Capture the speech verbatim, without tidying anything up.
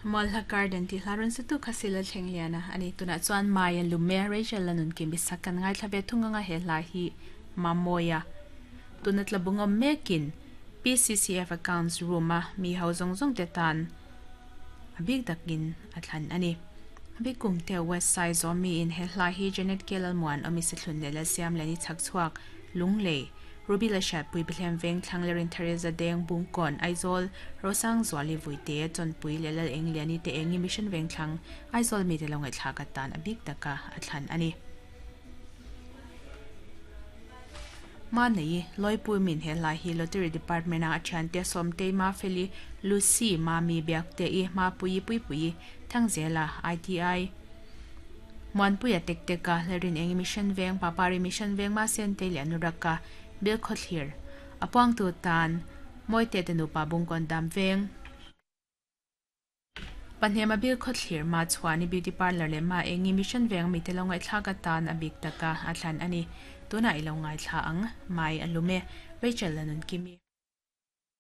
Mualhla Garden tih hla rawn satu kha sila thleng lian a ani tunah chuan Maya Lume Rachel la nun kim bisak kan ngaithla ve thung anga he hla hi Mamawia tuna tla bungawm mekin P C C F Accounts room a mi ho zawng zawng te tan a bik takin a thlan ani bik kum te West Side zawm mi in he hla hi Janet Kelalmuan awmi se thlun leh la siam leh ni chhak chhuak Lunglei Ruby la hriat pui bihlem veng thlang lerin Theresa Deng Bungkawn Aizawl Rosang Zuali Vuite Chawnpui leh Lal Eng Liani te engi Mission veng thlang Aizawl mi te lo ngaihthlak atan a bik taka a thlan ani. Ma nei Loipui min he hla hi Lottery Department a a thiante Sawmtei Mafeli Lucy Mami Biakte i Mapuii Puipui Thangzela I T I Muanpuia tek teka Lerin Engi Mission veng Papari Mission veng Ma Sentei leh Anuraka Bill Khawthlir a puangtu tan Mawite te nupa Bungkawn dam veng Pahnema Bill Khawthlir ma chhuani Beauty Parlour leh Ma Engi Mission veng mi te lo ngaihthlak atan a bik taka a thlan ani. Tunah i lo ngaithla ang Mai a lume Rachel la nun kimi.